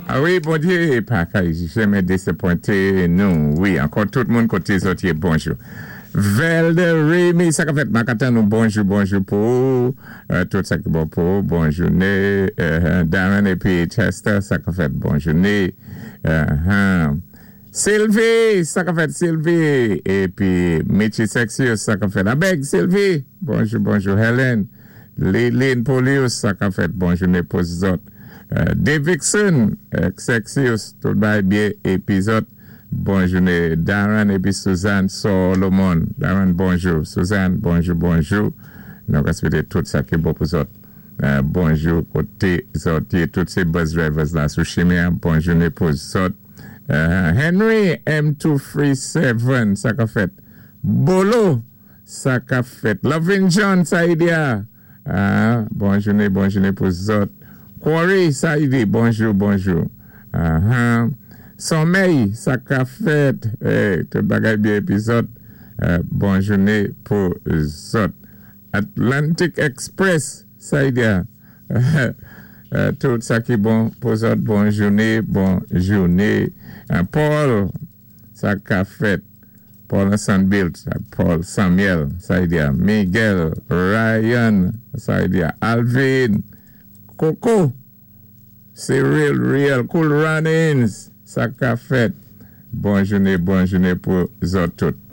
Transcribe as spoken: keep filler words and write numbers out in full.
A wi, Bondyé pa ka janmè désapwenté nou. Wi, ankò tout moun koté zòt yé, bonjou. Velde Rémy, sa ka fèt Makatan nou, bonjou, bonjou pou euh, tout sa ki bon pou, bon jouné. Euh, Darren épi Chester, sa ka fèt, bon jouné. Euh, Sylvie, sa ka fèt Sylvie. Épi Mitchy Sexius, sa ka fèt. Abeg Sylvie, bonjou, bonjou Helen. Lilin Polius, sa ka fèt, bon jouné pou zòt. Euh, Davidson, Sexius, tout bay byen épi zòt. Bon jouné Darren épi Suzanne Solomon. Darren, bonjou. Suzanne, bonjou, bonjou. Nou swété tout sa ki bon pou zòt. Euh, bonjou koté zòt. Tout sé bus drivers la sou chimen. Bon jouné pou zòt. Euh, Henry M two three seven, sa ka fèt. Bolo, sa ka fèt. Lovin John, sa i di. Ah, bon jouné, bon jouné pou zòt. Corey, sa i di, bonjou, bonjou. Uh-huh. Sommeil, sa ka fèt. Hey, tout bagay byen épi zòt. Euh, bon jouné pou zòt. Atlantic Express, sa i di. Euh, tout sa ki bon pou zòt, bon jouné, bon jouné. Euh, Paul, sa ka fèt. Paul Sanbilt, Paul Samuel, sa i di. Miguel, Ryan, sa i di. Alvin, Coco, Cyril, Real, Cool Runnings, sa ka fèt. Bon jouné, bon jouné pou zòt tout.